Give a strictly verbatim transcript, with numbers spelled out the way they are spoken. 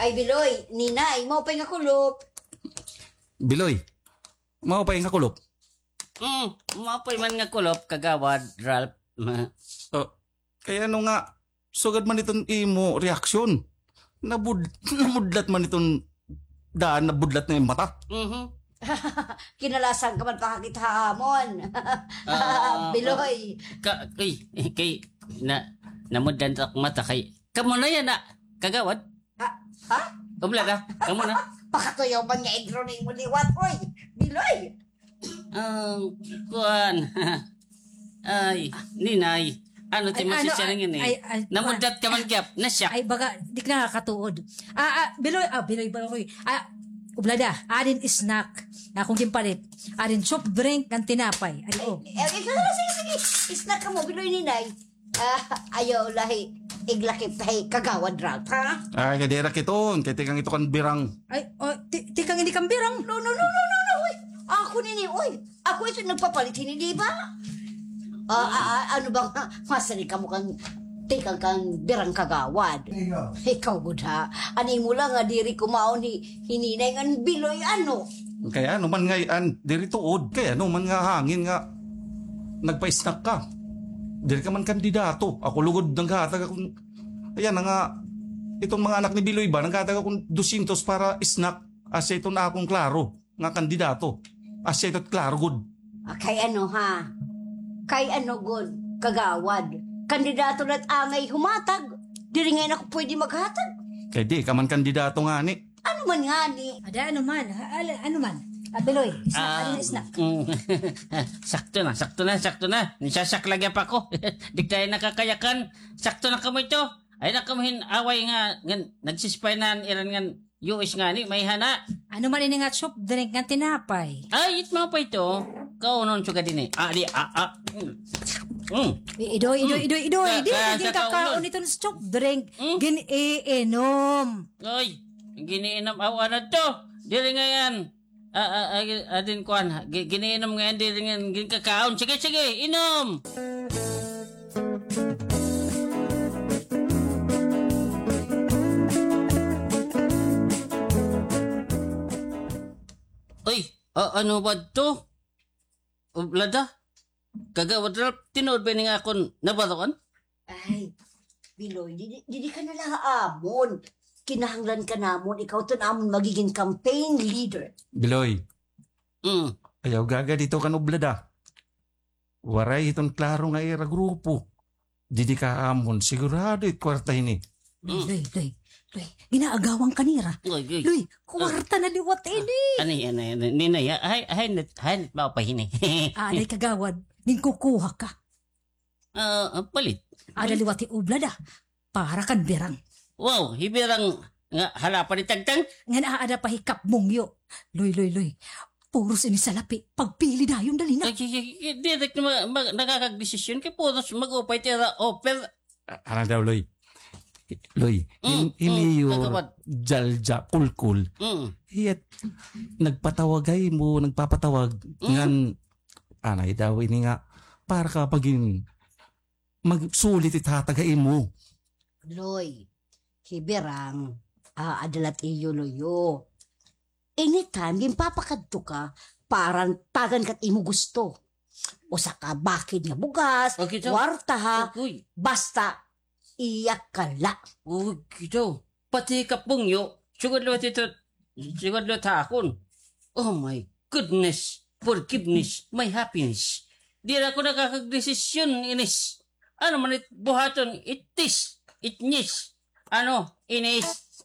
Ay, Biloy, Ninay, maupay nga kulop. Biloy, maupay nga kulop. Hmm, maupay man nga kulop, Kagawad Ralph. Oh, kay ano nga, sugad man iton imo reaksyon. Nabud-, namudlat man iton daan, nabudlat na im mata. Mhm. Kinalasan ka man pakakita ha amon. Ah, Biloy. Ka-, kay, kay, na, namudlat ak mata kay, kamo na yana, Kagawad. Ha? Ha? Oblada, kamo na. Pakatuyaw man nga igro na imo liwat, oy. Biloy. Ah, kuan. Ay, Ninay. Ano ti masisya na ngini? Ay, ay, namudlat ka man gihap. Nasyak. Ay, baga, di ka nakakatuod. Ah, ah, Biloy, ah, Biloy, Biloy. Ah, Oblada, adin snack. Akon ginpalit. Adin soft drink, ngan tinapay. Adi, oh. Ay, ay, sige, sige, sige. Snack kamo, Biloy, Ninay. Ah, ayaw la hi iglakip ta hi Kagawad Ralph, ha? Ay, kay diri ak iton, kay tikang ito kan Birang. Ay, oh, ti-, tikang ini kan Birang? No, no, no, no, no, no, uy. Ako nini, uy. Ako ito nagpapalit hini, di ba? Ah, ah, ah, ano ba nga? Masani kamo kan tikang kan Birang, Kagawad. Ikaw. Ikaw gud, ha? An imo la nga diri kumaon hi, hi Ninay ngan Biloy, ano? Kay ano man ngay-an, diri tuod, kay ano man nga hangin nga nagpa-snack ka. Diri ka man kandidato. Ako lugod naghatag akon, ayan na nga, iton mga anak ni Biloy ba, naghatag akon dosyentos para snack. Asya iton akon klaro nga kandidato. Asya ito klaro gud. Ah, kay ano, ha? Kay ano gud, Kagawad? Kandidato la it angay humatag. Diri ngay-an ako pwede maghatag. Kay di ka man kandidato ngani. Ano man ngani? Ada, ano man? Ha, ala-, ano man? Ah, Biloy, snack, ah, ano na snack? Mm. Sakto na, sakto na, sakto na. Nisasak lagi pa ko. Di tayo nakakayakan. Sakto na kamo ito. Ay na kamo hin away nga, nga nagsispay na iran ngan U S ngani, may hana. Ano man ini nga soft drink nga tinapay? Ay, it mga pa ito. Kaunon sugad ini. Ah, di, ah, ah. Mm. Mm. I-, idoy, idoy, Mm. idoy, idoy. Ka-, Di ka kaya sa ginkaon kaunon. Iton soft drink. Mm. Gin-iinom. Ay, gin-iinom. Aw, ano to? Diri ngay-an. Ah, ah, ah, adin kuan, gi-, gin-iinom ngay-an, diri ngay-an ginkakaon. Sige, sige, inom. Uy, a-, ano ba to? Oblada? Kagawad Ralph, tinuod ba ini nga akon nabaroan? Ay, Biloy, didi, didi ka na la ha amon. Kinahanglan ka namon, ikaw ton amon magigin campaign leader. Biloy, Mm. Ayaw gagad ito kan Oblada. Waray iton klaro nga ira grupo. Didi ka amon, sigurado it kwarta hini. Loy, Loy, Loy, Loy. Ginaagawan ka nira. Loy, Loy. Loy, kwarta na liwat ini. Ani, ani, ani, ninay, ha? Hay, hay, nit, hay, nit, mao pa hini. Anay, kagawad, ginkukuha ka. Ah, ah, palit. Ada liwat hi Oblada, para kan Birang. Wow, hi Birang nga hala pa ni Tagtang? Ngan aada pa hi Kap Mungyo. Loy, Loy, Loy. Puros ini salapi. Pagpili dayon, dali na. Ay, ay, ay, ay, direct na ma-, ma-, nakakagdesisyon kay puros mag-upay tira offer. Ah, ano daw, Loy? Loy, mm, hi, hi Mayor Jalja Kulkul. Mm. Hiyat, nagpatawag ha imo, nagpapatawag. Mm. Ngan, anay daw ini nga, para ka pagin magsulit it hatag ha imo. Loy, hi Birang, ah, aada la it iyo luyo. Anytime, ginpapakadto ka, para tagan ka it imo gusto. Usa ka bakid nga bugas, okay, kwarta ha, okay, basta iya ka la. Uy, kito. Pati hi Kap Mungyo, sugad liwat ito, sugad liwat ha akon. Oh my goodness, forgiveness, my happiness. Diri ako nakakagdesisyon, inis. Ano man it buhaton, itis, itnis. Ano, inis.